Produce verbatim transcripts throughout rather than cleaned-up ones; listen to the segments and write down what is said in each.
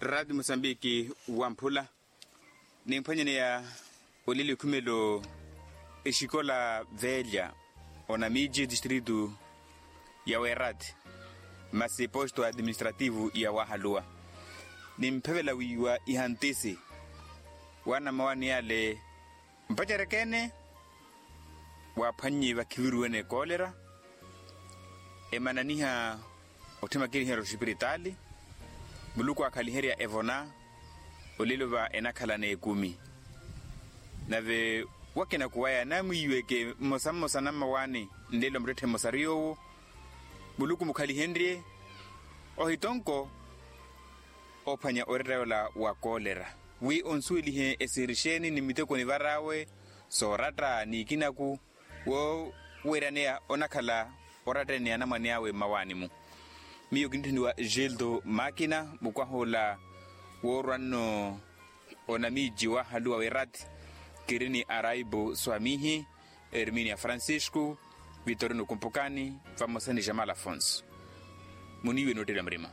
Raati musambiki wamphula. Nimphwanyaneya olili okhumelo exikola velya onamiji distritu ya werat masi posto administrativu ya wahaluwa. Nimphevela wiiwa ihantisi wana mawani yale mpacerekene. Waaphwannyi vakhiviruwene koolera emananiha otthima kiniherya oxipiritaali. Muluku aakhaliherya evona olelo va enakhala n'ekumi. Nave wakinaku waya namwiiweke mmosa mmosa nammawaani nlelo muttetthe mmosa riy'owo muluku mukhalihenrye ohitonko oophwanya oretta yola wa koolera wi onsuwelihe esiiri xeeni ni miteko nivar'awe sooratta n'ikinaku wooweeraneya onakhala orattene anamwane awe mmawaani-mu. Miyo kinitthuniwa gildo makina mukwahuula woorwa-nno onamiiji wahaluwa werat kiri ni araibu swamihi erminia francisco vitorino kumpukani vamosa ni jamal afonso. Muniiwe noottelya murima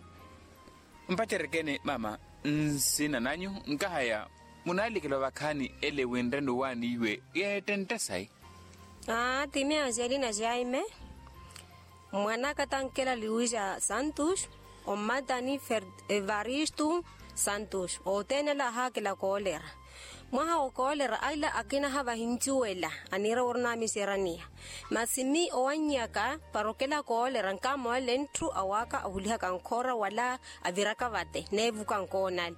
mpacerekene mama nsina nanyu nkahaya munaalikela ovakhaani ele winrene owaani iwe yeettentte sayi. Aa ti miyo angelina jaime mwan'aka tankela luisa santos ommatani evaristo santos othene ala ahaakela koolera. Mwaha wa koolera ala akina havahincuwela aniira wooronamiseraniya masi mi owannyaka para okela koolera nkamoolele ntthu awaaka ahulihaka nkhora wala aviraka vate neevuka nkoonale.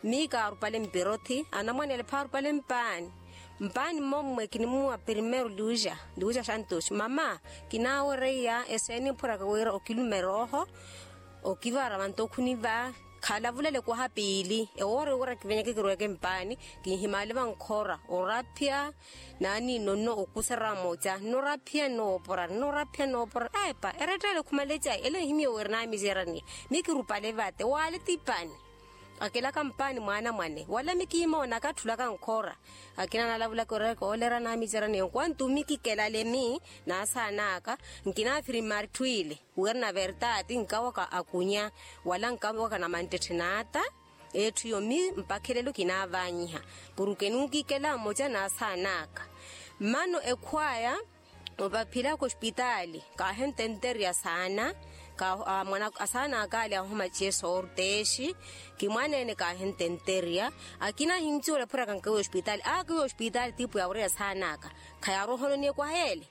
Mi kaarupale mpirothi anamwane ale phaarupale mpaani. Mpaani mmommwe kinimuwa primeiro luja luja santos mama kinaawereiya eseeni mphuraka wira okilumera oho okivara vanto okhuniva khalavulele kwaha piili ewoori wira kivenyeke kirweke mpaani. Kinhimaale vankhora oraphya naani nonno okuserya vamoca nnoraphya nnoopora nnoraphya nnoopora epa erettele khumalecayi ele nhimiyo wira naamiseraniya. Mi kirupale vate waale tipani akelaka mpaani mwaana mwane wala mi kiimoona akatthulaka nkhora. Akina nalavulaka orereka olera naamiseraniya nkwantu mi kikelale mi naasaan'aka nkinaafiri mmaritthwile wira na vertati nkawaka akunya wala nkawaka na manttetthe n'ata. Etthu yomi mpakha elelo kinaavaanyiha porke nunkikela mmoca naasaan'aka. Mmano ekhwaya opaphilaka ospitaali kaahententerya saana. Mwana asaana akaali ahomaciye sortexi kimwaneene kaahententerya. Akina ahincuwela phuraka nkawiya ospitaali akawiya ospitaali tiipu yaawereya saana aka khayaarohononiye kwaheele.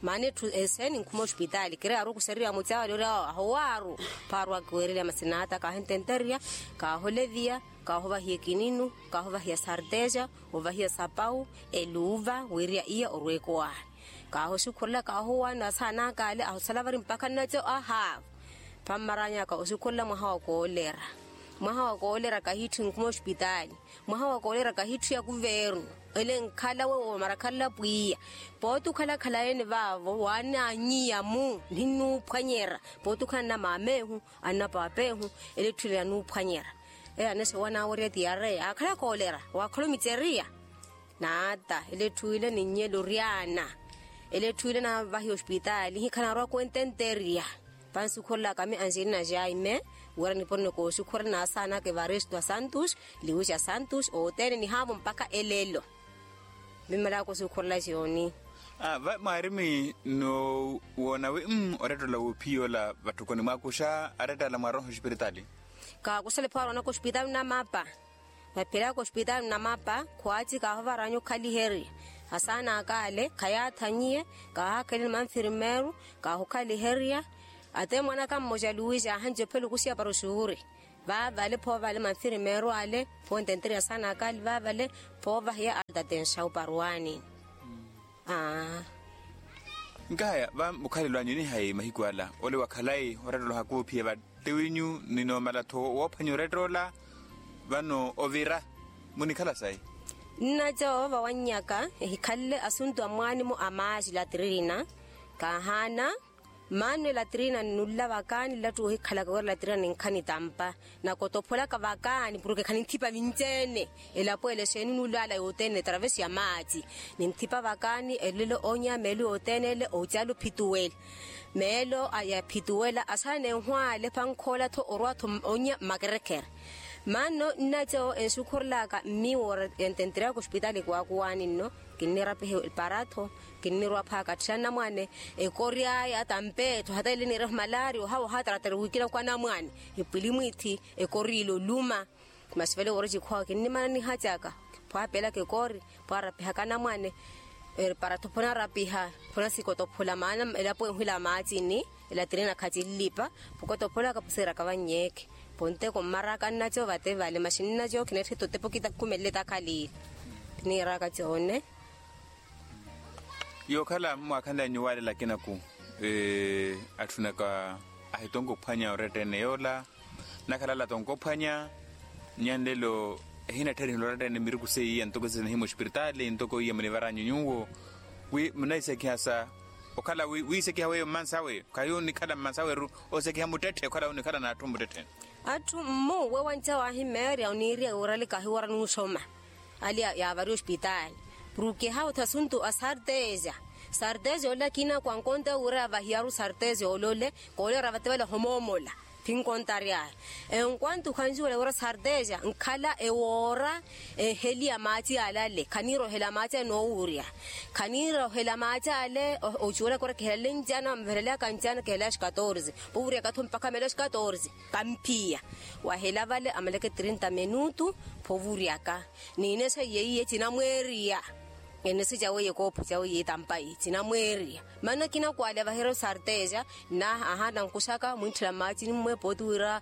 Maana etthu eseeni nkhuma ospitaali kiri yaarukuseriwa mucawa lyoori awo ahowaaru. Phaaru akiweererya masina ata kaahententerya kaaholeviya kaahovahiya ekininu kaahovahiya sarteja ovahiya sapau eluuva wiiriya iya orweeko waani. Kaahosukhurela kaahowaani asaana akaale ahosala vari mpakha nnaco ahaava. Pammaranyaka osukhurela mwaha wa koolera mwaha wa koolera kahitthi nkhuma ospitaali. Mwaha wa koolera kahitthi ya kuvernu ele nkhala wewo marakhalela pwiya. Pooti okhalakhala ene vaavo waananyiya-mu ninnuuphwanyerya pooti okhala nnamamehu annapapehu ele etthu ele yanuuphwanyerya. Ele anexe wanaawerya tiyareya akhala koolera waakhala omiceriya. Naata ele etthu ile ninnyela oryaana ele etthu ile naavahiya ospitaali hikhala naarowaka wententerya. Pansukhurelaka mi angelina jaime wira niponi nokoosukhurela naasaanaka evaristo a santos liwisa santos othene nihaavo mpakha elelo. Mimmalaka osukhurela xoni. Va mwaarimi noowoona wi mm orettola woophiya ola vatthukoni mwaakuxa aretta ala mwaroha ospitaali. Kaakusale pho aroonaka ospitaali nnamapa. Vaphilaka ospitaali nnamapa khwaaci kaahuvaranya okhaliherya asaana akale khayaathannyiye. Kaahakheleni manfirmeru kaahukhaliherya. Ate mwanaka mmoja luwisi aahanci ophela okusiya para osuuri vaavale phoovale manfirmeru ale phontenterya asaana akale vaavale phoovahiya alta tensawu para owaanini. Aa. Nkahaya va mukhalelo anyu nihayi mahiku ala ole wa khalayi orettoloha kuuphiye va tiwinyu ninoomala-tho woophwanya orettoola vano ovira munikhala sayi. Nnaco vawannyaka ehikhalele asuntu a mwaani-mu a maaci latirina. Kaahaana mmaano elatirina nnulla vakaani nlattuwa ohikhalaka wira latirina ninkhani tampa nakotopholaka vakaani porke khaninthipa vinci-ene. Elapo ele xeeni nullaala yothene etravesi ya maaci ninthipa vakaani elelo onya meelo yothene ele ocala ophituwela. Meelo yaphituwela asaana enhwaale pankhoola-tho orwa-tho onya mmakerekere. Maano nnaco enxukhurelaka mmiiwo ora yantenteryaka ospitaali kwaakuwaani nno. Kinnirapiha eparaatho, kinnirwa phaaka atthira anamwane, ekori aya tampeetho hata ele niireha malaari ohawa ohataratari wiikina kwa anamwane, epwili mwiithi, ekori ile oluma. Masi vale woora ecikhwawe kinnimana nihacaka, phwaapelaka ekori, phwaarapihaka anamwane. Eparaatho phonarapiha, phonasikotophula maana elapo enhwila maacini, elatirina khacinlipa, phukotopholaka phusiiraka vannyeke. Ponteko mmaraka nnaco vate vale masi nnaco khineetthita otepa okita khumelele takhaliile. Niiraka coone. Yookhala mwaakhanle anyuwaalela akinaku, atthunaka ahitonka ophwanya orettene yoola. Nakhalala tonkophwanya. Nyanlelo ehinatthariha oloratta ene miruku seiya ntoko sinahimu ospiritaali ntoko iya munivaranyu nyuwo. Wi munaisekiha sa okhala wi wiisekiha weyo mmansawe khahi onikhala mmansawe-ru. Osekiha muttetthe okhala onikhala n'atthu muttetthe. Atthu mmu wewanca waahimeerya oniiriya wira ali kahiwara nuuxoma. Ali yaavari ospitaali. Purukihavo thasuntu a sarteja. Sarteja ole akina kwankonta wira yavahiyaru sarteja ole ole. Koolera vate vale ohomoomola. Phinkontaryaya. Enkwantu khanjuwela wira sarteja nkhala ewoora. Eheli ya maaci alale khaniira ohela maaci anoowurya. Khaniira ohela maaci ale. Ocuwelaka ora kihelale ncana vamuveleleyaka ncana kihelale axi katorze. Poowuryaka-tho mpakha melo axi katorze. Kamphiya. Wahela vale amaleke trinta minutu. Phovuryaka. Niinexa iye iye cinamweeriya. Enexe cawe iye koopho cawe iye tampayi cinamweeriya. Maana akina kwaale avahireru sarteja. Naaha ahaana nkuxaka mwintthela mmaacini mmwe pooti wira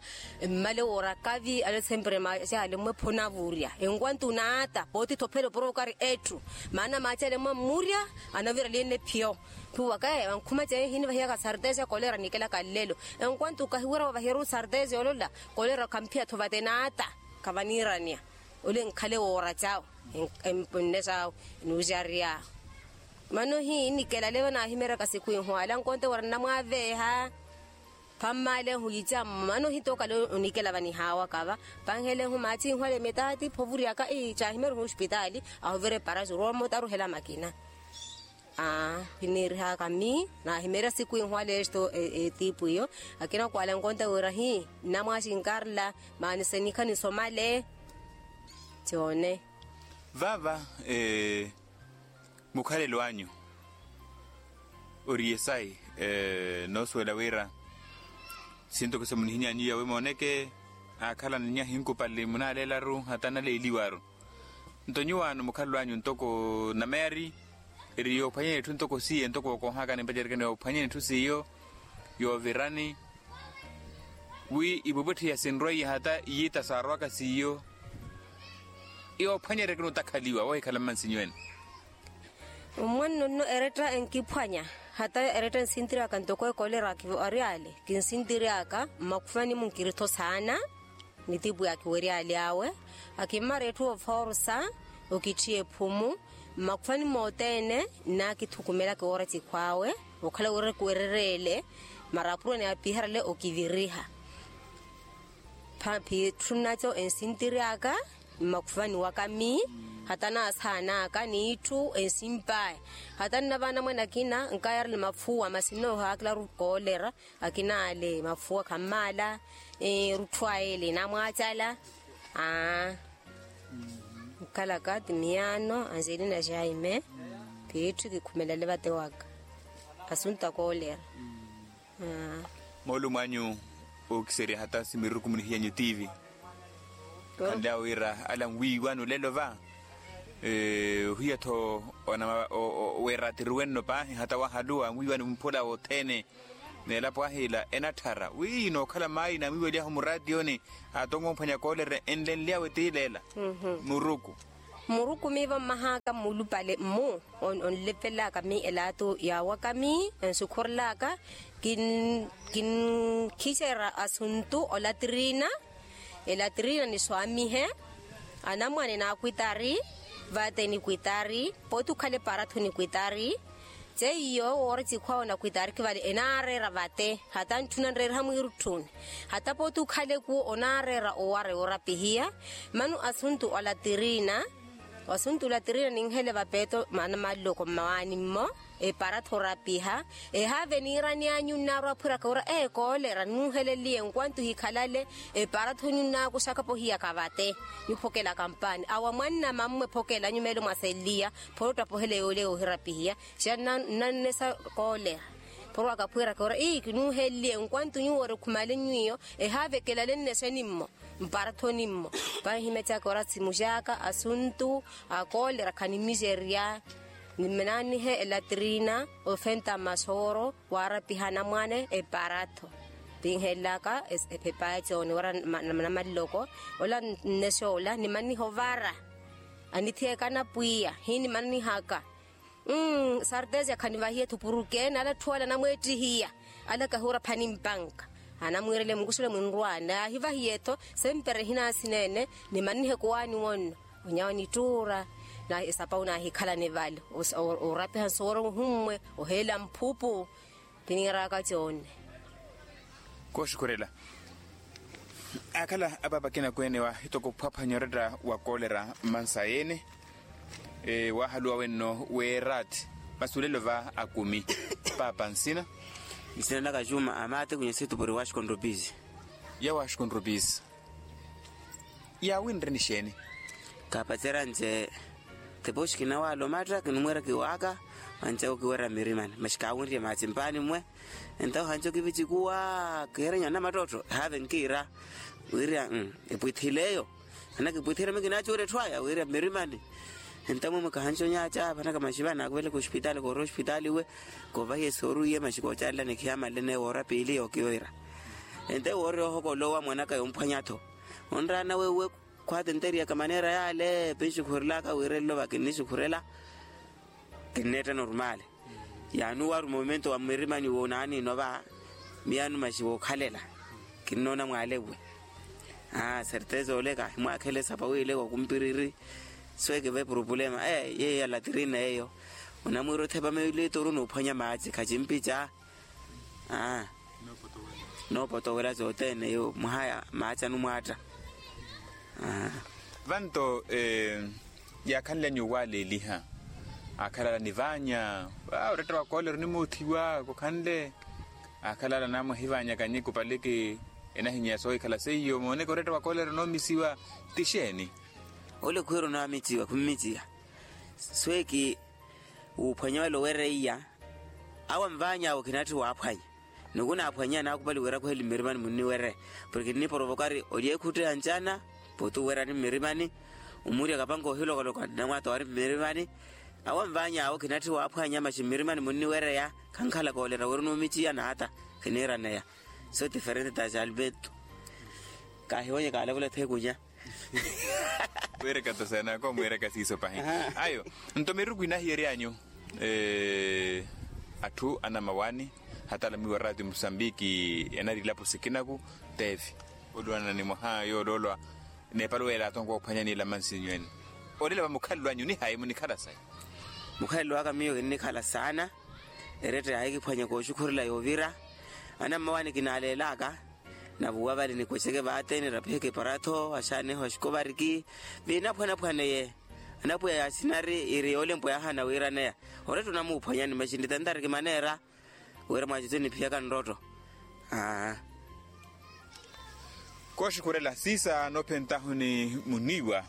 mmale woora kavi ale sempre maaci ale mmwe phonavurya enkwantu naata pooti thophela oporoka ari etthu. Maana maaci ale mmwe ammurya anavira lienle phiyo. Phuwaka evankhuma ceehi nivahiyaka sarteja kolera nikelaka nlelo. Enkwantu kahiwira wavahireru sarteja olola. Kolera khamphiya-tho vate naata. Khavaniiraniya. Ole nkhale woora cawe. Empunne sawe. Enuuxariyawe. Mano hi nikelale vanaahimeryaka siku inhwala nkonte wira nnamwaaveeha. Phammale ehu yica mano hi tookale onikela vanihawaka va. Panhele ehu maaci inhwala emitaati phovuryaka ii caahimeryaka ospitaali. Ahuvira eparaxi orwa omotaru ohela makina. Aa kiniirihaka mii naahimeerya siku inhwala esto etiipu iyo. Akina kwaala nkonta wira hi nnamwaaxi nkarla. Maani senikha nisomale. Coone. Vaava mukhalelo anyu ori yesayi. Noosuwela wira sinto kiso munihiny'anyu iyawe mooneke. Aakhala ni nyahi nkupali munaaleelaru hata naleeliwaru. Nto nyuwaano mukhalelo anyu ntoko nameyari eri yoophwanyani etthu ntoko siiyo ntoko wookoohakani mpacerikani yoophwanyani etthu siiyo yoovirani wi ipwepwetthe iya sinrweiye hata iyiita saarwaka siiyo. Yoophwanyeryakeni otakhaliwa woohikhala mmansinyu ene. Mmwanno nno eretta enkiphwanya hata eretta ensintiri aka ntoko ekolera akivo ari ale kinsintiri aka mmakhufani munkiri-tho saana. Nitipu yaakiwerya ale awe akimmara etthu ofoorusa okitthi ephumu mmakhufani mothene. Nnaakithukumelaka oora cikhw'awe okhala wira kuwerereele marapuro ni apiharale okiviriha. Pha phitthu nnaco ensintiri aka mmakhufani waka mii hata naasaana aka n'itthu ensimp'aya. Hata nnavaana mwanakina nkayarela mafuwa masi nnoohaakelaru koolera. Akina ale mafuwa khammaala erutthwa ele namwaacala. Aa nkhalaka ti miyaano angelina jaime. Phiitthu kikhumelale vate waka asuntu akoolera. Moolumo anyu ookiserya hata simiruku munihiyanyu tiivi. Khanlyawe wira ala nwiiwani olelo va ohiya-tho weeratiriwe nno paahi hata wahaluwa nwiiwani mphula wothene. N'elapo ahiila enatthara wi inookhala maayi naamwiiwelyahu muraatiyoni. Atongo omphwanya koolera enlenlyawe tiileela muruku. Muruku miivo mmahaka mmulupale mmu onlevelaka mii elaatu yaawaka mii ensukhurelaka. Kinkhicerya asuntu olatirina. Elatirina niswaamihe anamwane naakwitari. Vate nikwitari pooti okhala eparaatho nikwitari. Ceiyo woora cikhwawe onakwitaariki vale enaareera vate hata ntthuna nreeriha mwiirutthuni. Hata pooti okhala ekuwo onaareera owara yoorapihiya. Mano asuntu alatirina asuntu alatirina ninhele vapeeto maana maloko mmawaani mmo. eparatho orapiha. Ehaave niirani anyu nnaarwa aphwiraka ora ee koolera nnuuheleliye nkwantu hikhalale. Eparatho nyu nnaakuxaka pohiya kavate nyuphokela kampani awa mwanna mammwe phokela nyu meelo mwasenliya. Phoro ottapohela yoole yoohirapihiya siya nnannesa koolera. Phoro akaphwiraka ora ii kinuuheleliye nkwantu nyuwo ori khumale nywiyo ehaave kelale nnese nimmo. Mparathoni mmo panhimya caka ora simu xaka asuntu akoolera khanimixerya. Nimananihe elatrina ofenta masooro waarapiha anamwane eparatho. Pinhelaka ephepa ecooni ora namaliloko ola nnexoola nimananiha ovara. Anithiyaka anapwiya hinimananihaka. Mmm sarteza khanivahiye-tho puruke n'ala atthu ala anamweettihiya. Ala kahuura phani mpanka anamwiirele mukuxule mwinrwaani naahivahiye-tho. Sempere ehinaasi neene nimannihe kuwaani wonno onyawa nittuura. Esapau naahikhalani vale orapiha nsooro nhummwe oheela mphupu. Tiniiraka coonne. Kooxukhurela aakhala apaapa akina kweene wa hitoko ophwaphwanya oratta wa koolera mmansa yeene. Waahaluwa wenno weeraati masi olelo va akumi. Paapa nsina? Nsina naka juma amate kunyasitupuri washkonropisi. Ya washkonropisi. Yaawinre nixeeni? Kaapacerya nce tepoxi kinawaala omatta kinumweera kiwaaka mancawo kiwerya mmirimani masi kaawinrye maaci mpaani mmwe. Entawo hanco kivicikuwa kiherenya anamattottho ehaave nkiira wiirya epwithile eyo. Anakipwithile mikinaacuura etthu aya wiirya mmirimani. Entawo mwe mwekahanco nyaaca vanaka masi vanakuveleke ospitaali koorya ospitaali we koovahiye sooruiye masi koocalelani khiyamanle neewo ora piili yookiyoira. Entawo woorya ohokolowa mwanaka yomphwanya-tho onraana wewe. Khwaatenteriyaka maneera yaale pinxukhurelaka wiirelelo vakinnixukhurela. Kinneetta normaale. Yaanuwaruma omumento wa mmirimani woonaani inova miyaano maxi wookhalela. Kinnoona mwaalewe. Aa serteza ole kaahimwaakhela esapa wiile wakumpiriri. Sweekeve purupulema ee yeeyo ya latirina yeeyo. Onamwiira othepa meelitoru noophwanya maaci khacimpica. Aa noopotowela sothene yo mwaha ya maaci anumwaatta. Vanto yaakhanly'anyu owaaleeliha aakhalala nivaanya. Oratta wa koolera onimuuthiwa kukhanle. Aakhalala namwahivaanyaka nyikupaliki enahinyeya soohikhala seiyo mooneke oratta wa koolera onoomisiwa. Ti xeeni? Ole khuhira onaamiciwa khummiciya. Sweeki wuuphwanya wale owereiya. Awo anvaany'awe khinatthi waaphwanya. Ni okunaaphwanya naakupali wira khuheli mmirimani munniwerya. Porke nniporovokari olyeekhutteya ncana pooti owerani mmirimani. Omurya kapanka ohilokoloka namwaata wari mmirimani. Awo anvaany'awe khinatthi waaphwanya maxi mmirimani munniwereya. Khankhala koolera wira onuumiciya naata khiniiraneya. So diferente ta xalbeto. Kaahiwonye kaalakula theekunya. Mwiireka tosena koomwiireka siiso pahi. Ayo nto miruku inahiyeryanyu atthu anamawaani hatala mwiiwa raati musambiki enari ilapo sikinaku. Teevi oluwanana ni mwaha yooloolwa. Neepala weela atonka oophwanyani ela mansinyu ene. Olelo va mukhalelo anyu nihayi munikhala sayi? Mukhalelo waka miyo kinnikhala saana. Eretta yaahikiphwanya kooxukhurela yoovira. Anammawaani kinaaleelaka. Navuwa vale nikwesyeke vaate nirapiheke eparatho axaaneho axikovariki. Viinaphwanaphwaneye. Anapwiya yaasinari iri yoolempwa yaahana wiiraneya. Oretta onamuuphwanyani maxi nitentari kimaneera. Wira mwaacico niphiyaka nrotto. Aa kooxukhurela siisa noophentahu ni muniiwa.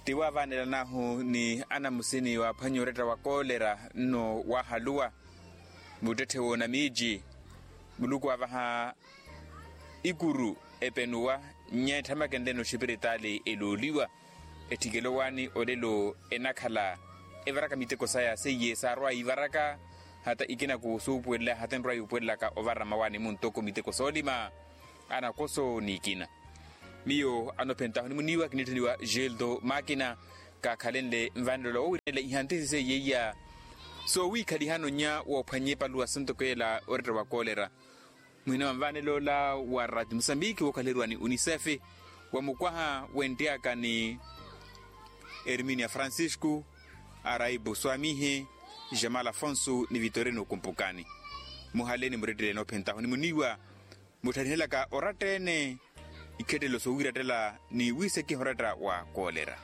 Ti waavaanelanahu ni anamusini waaphwanya oretta wa koolera nno waahaluwa. Muttetthe woona miici muluku waavaha ikuru epenuwa. Nyeetthamakenle noxipiritaali elooliwa. Etthikela owaani olelo enakhala evaraka miteko saya seiye saarwa yiivaraka. Hata ikinaku suupuwelela hata enrwa yuupuwelelaka ovara mawaani muntoko miteko soolima anakoso n'ikina. Miyo anophentahu ni muniiwa kinitthuniwa geldo makina. Kaakhalenle nvanelo la woowirela ihantisi seiye iya soowiikhalihano nnya woophwanye epaluwa sintoko ela oretta wa koolera. Muhina wa nvaanelo ola wa rati musambiki wookhaleriwa ni unicef wa mukwaha wenttiyaka ni erminia francisco, araibu swamihe, jamal afonso ni vitorino kumpukani. Muhale ni muretteleni ophentahu ni muniiwa mutthanihelaka oratta-ene ikhettelo soowiirattela ni wiisekiha oratta wa koolera.